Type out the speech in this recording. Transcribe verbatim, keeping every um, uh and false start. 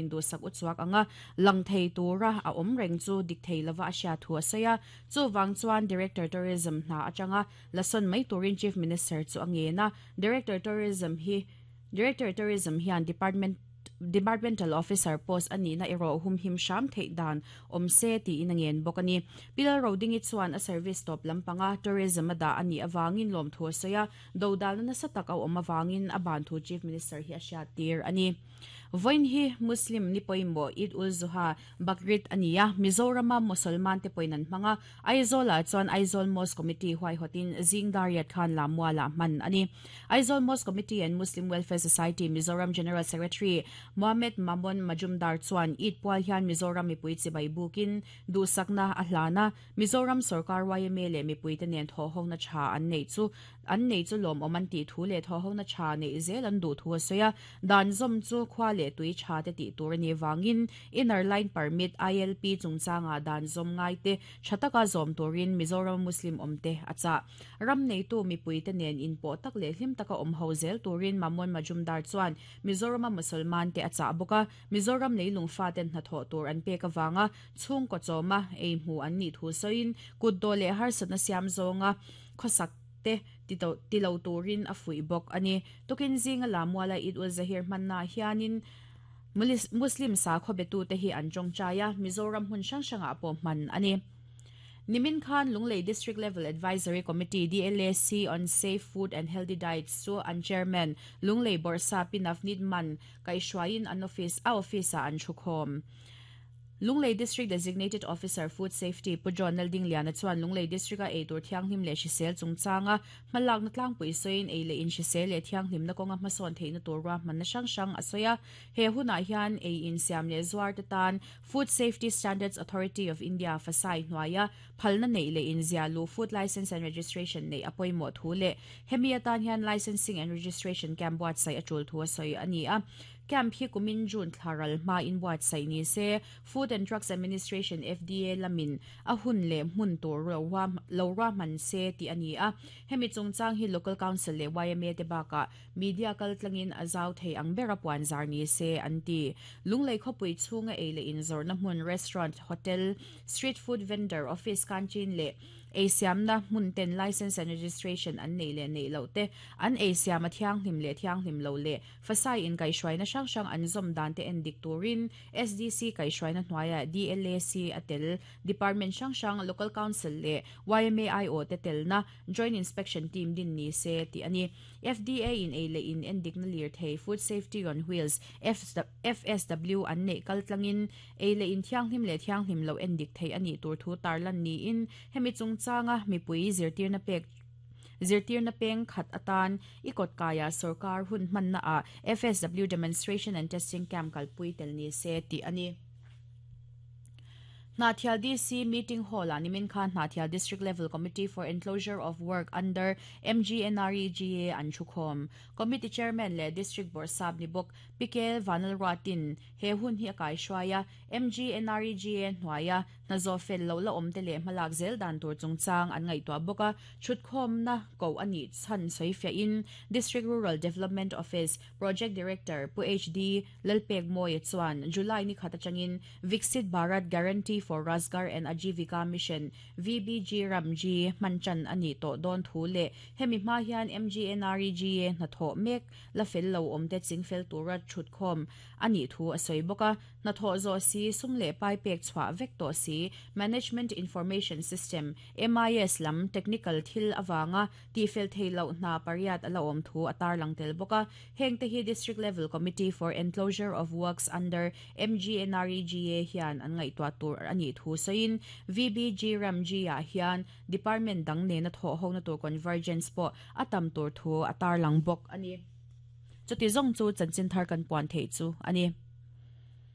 Induhsak uchuak anga lang thei tura a awm reng chu dik thei lova a hriat thu a sawi a. Chuvang chuan Director Tourism hna atanga lasawn mai turin Chief Minister chu a ngen a. Director Tourism hi Director Tourism hian Department Departmental Officer post ani na ero hum him sham thei dan awm se ti in a ngen bawk ani. Pi Lalrodingi chuan a service top lampanga tourism a dah ani awangin lawm thu a sawi a, dodal na nasa tak a awm awangin a ban thu Chief Minister hi a hriat tir ani. Vawiin hi Muslim ni pawimawh Eid ul Zuha, Bakrid a ni a, Mizorama Musalman te pawhin an hmang a, Aizawlah chuan Aizawl Mosque Committee huaihawtin zing dariat khan Lammualah hman a ni. Aizawl Mosque Committee and Muslim Welfare Society Mizoram General Secretary Mohammed Mamon Majumdar chuan Eid pual hian Mizoram mipui chibai bukin duhsakna a hlan a, Mizoram sorkar Y M A leh mipuite nen thawhhona tha an nei chu an nei chu lawmawm an tih thu leh thawhhona tha neih zel an duh thu a sawi a, dan zawm chu khua leh tui tha te tih tur ani wangin Inner Line Permit I L P chungchanga dan zawm ngai te tha taka zawm turin Mizoram Muslim awmte a chah. Ram neitu mipuite nen in pawh tak leh hlim taka awm ho zel turin Mamon Majumdar chuan Mizorama Musalman te a chah bawk a, Mizoram leilung fa ten hnathawh tur an pek awanga chhungkaw chawma ei hmu an nih thu sawiin kutdawh leh harsatna siam zawnga khawsak te tilo turin a fuih bawk ani. Tukin zinga Lammuala Eid ul Zahir hmanna hianin Muslim sakhaw betu te hi an tawngtai a, Mizoram hmun hrang hrangah pawh hman ani. Nimin khan Lunglei District Level Advisory Committee D L A C on Safe Food and Healthy Diets chu an chairman Lunglei Bawrhsap Pi Navneet Mann kaihhruaiin an office a office ah an thukhawm. Lunglei District Designated Officer Food Safety Pu John Laldingliana chuan Lunglei District a eitur thianghlim leh hrisel chungchanga hmalakna tlangpui sawiin ei leh in hrisel leh thianghlimna kawnga hmasawn theihna tur ruahmanna hrang hrang a sawi a. He hunah hian ei in siam leh zuar te tan Food Safety Standards Authority of India FSSAI hnuaia phalna nei leh in zia lu food license and registration nei a pawimawh thu leh hemi atan hian licensing and registration camp buatsaih a tul thu a sawi ani a. Camp hi kumin June thlaral hma in buatsaih ni se, Food and Drugs Administration F D A lamin a hun leh hmun tur lo ruahman se ti ani a. Hemi chungchang hi Local Council leh Y M A te bakah media kal tlangin a zau thei ang bera puan zar ni se an ti. Lunglei khawpui chhunga ei leh in zawrhna hmun restaurant, hotel, street food vendor, office canteen leh ei siamna hmun ten license and registration an nei leh nei lo te, an ei siam a thianghlim leh thianghlim lo leh FSSAI in kaihhruaina hrang hrang an zawm dan te en dik turin S D C kaihhruaina hnuaia D L A C a tel department hrang hrang, Local Council leh Y M A I O te telna Joint Inspection Team din ni se ti ani. F D A in ei leh in en dikna lir thei Food Safety on Wheels F S W an nei kal tlangin ei leh in thianghlim leh thianghlim lo en dik thei ani tur thu tarlan ni in hemi chungchanga mipui zirtirna pek zirtirna peng khat atan ikot kaya sarkar hun hmanna a F S W demonstration and testing camp kalpui tel ni se ti ani. Hnahthial D C Meeting Hall a nimin khan Hnahthial District Level Committee for Enclosure of Work under M G N R E G A an thukhawm. Committee Chairman leh District Bawrhsap ni bawk P K Vanlalruatin he hun hi a kaihruai a, M G N R E G A hnuaia hnazaw fel lo la awm te leh hmalak zel dan tur chungchang an ngaihtuah bawk a. Thutkhawmna ko ani chan soifia in District Rural Development Office Project Director Pu H D Lalpek Moy chuan July ni khata changin Viksit Bharat Guarantee for Rozgar and Ajivika Mission V B G Ramji manchan ani to don thu le hemi hma hian M G N R E G A hnathawh mek la fel lo awm te chingfel tura thutkhawm ani thu a sawi bawk a. Hnathawh zawh si sum leh pai pek chhuah vek tawh si Management Information System M I S lam technical thil awanga ti fel thei lo hna pariat ala awm thu a tarlang tel bawk a. Heng te hi District Level Committee for Enclosure of Works under M G N R E G A hian an ngaihtuah tur ani thu sawiin V B G Ramji ah hian department dang nena thaw ho na tur convergence pawh a tam tur thu a tarlang bawk ani. Chuti zong chu chanchin thar kan puan thei chu ani.